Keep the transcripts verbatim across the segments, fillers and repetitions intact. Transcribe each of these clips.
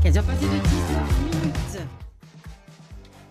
Quinze heures passées de dix-neuf minutes.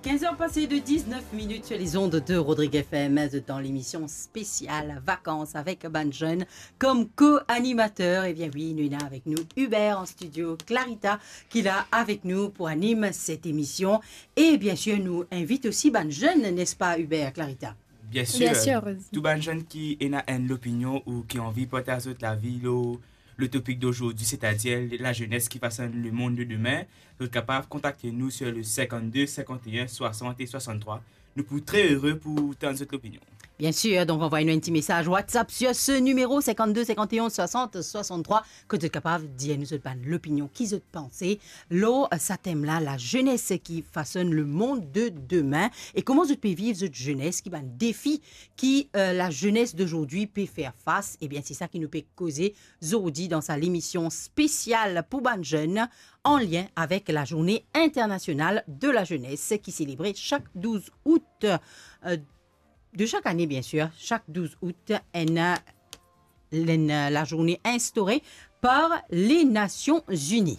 Quinze heures passées de dix-neuf minutes sur les ondes de Rodrigue F M, dans l'émission spéciale Vacances avec bann zenn kom ko-animater. Ebien wi, nou ena avek nou Hubert an stidio, Clarita ki la avek nou pou anim set emision. E biensir, nou invit osi bann zenn, nespa Hubert, Clarita? Biensir, Biensir, Rose. Tou bann zenn ki ena enn lopinion ou ki anvi partaz zot lavi lor le topik dozordi, setadir lazenes ki fasonn lemond de demin, zot kapav kontakte nou sur le cinquante-deux cinquante et un soixante et soixante-trois. Nou pou tre ere pou tann zot lopinion. Biensir, donk anvway nou enn ti mesaz WhatsApp sur ce numéro, cinquante-deux cinquante et un soixante soixante-trois, kot zot kapav dir nou zot bann lopinion, ki zot panse lor, eh, sa tem la, lazenes ki fasonn lemond de demin, e kouma zot pe viv zot zenes, ki bann defi ki, eh, lazenes dozordi pe fer fas. Ebien, se sa ki nou pe koze zordi dan sa lemision spesial pou bann zenn, an lien avek lazourne internasional de lazenes ki selebre sak douz out, eh, de sak ane, biensir, sak douz out, enn, enn, eh, lazourne instaure par Lenasion Zini.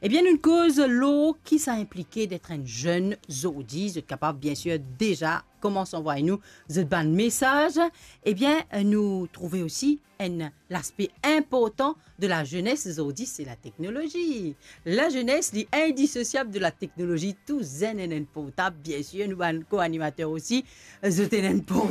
Ebien, nou koz lor ki sa inplike det enn zenn zordi. Zot kapav, biensir, deza koumans anvway nou zot bann mesaz. Ebien, nou trouve osi enn laspe inportan de lazenes zordi, se lateknolozi. Lazenes, li indisosiab de lateknolozi. Tou zenn ena enn portab, biensir, nou bann ko-animater osi, zot ena enn portab.